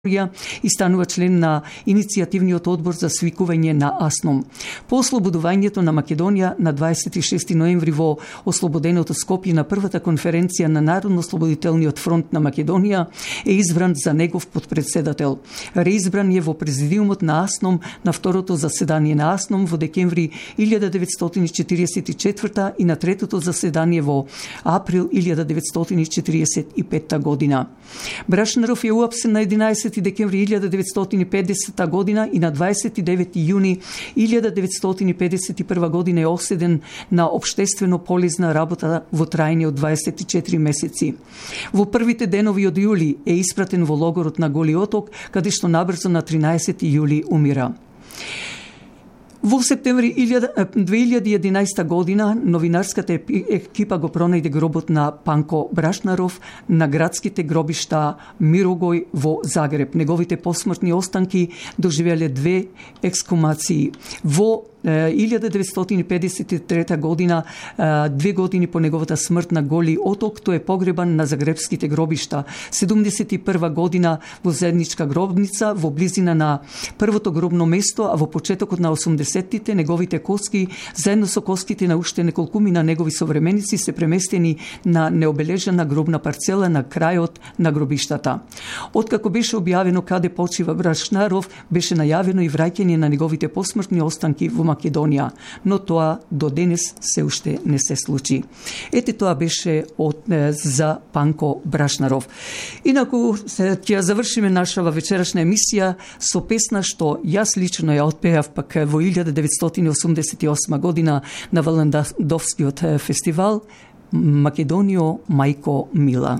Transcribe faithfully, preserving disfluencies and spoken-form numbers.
и станува член на иницијативниот одбор за свикување на АСНОМ. По ослободувањето на Македонија на дваесет и шести ноември во ослободеното Скопје на првата конференција на Народно-ослободителниот фронт на Македонија е избран за негов подпредседател. Реизбран е во президиумот на АСНОМ на второто заседание на АСНОМ во декември илјада деветстотини четиридесет и четврта и на третото заседание во април илјада деветстотини четиридесет и петта година. Брашнаров е уапсен на единаесети декември илјада деветстотини педесета година и на дваесет и девети јуни илјада деветстотини педесет и прва година е осуден на општествено полезна работа во трајање од дваесет и четири месеци. Во првите денови од јули е испратен во логорот на Голи Оток, каде што набрзо на тринаесети јули умира. Во септември две илјади и единаесета година новинарската екипа го пронајде гробот на Панко Брашнаров на градските гробишта Мирогој во Загреб. Неговите посмртни останки доживеле две ексхумации. Во илјада деветстотини педесет и трета година, две години по неговата смрт на Голи Оток, тој е погребан на загребските гробишта. седумдесет и прва година во заедничка гробница во близина на првото гробно место, а во почетокот на осумдесеттите неговите коски заедно со коските на уште неколкуми на негови современици се преместени на необележана гробна парцела на крајот на гробиштата. Откако беше објавено каде почива Брашнаров, беше најавено и враќање на неговите посмртни останки во Македонија, но тоа до денес се уште не се случи. Ете, тоа беше од, за Панко Брашнаров. Инаку ќе завршиме нашава вечерашна емисија со песна што јас лично ја отпеав пак во илјада деветстотини осумдесет и осма година на Валендовскиот фестивал Македонио, мајко мила.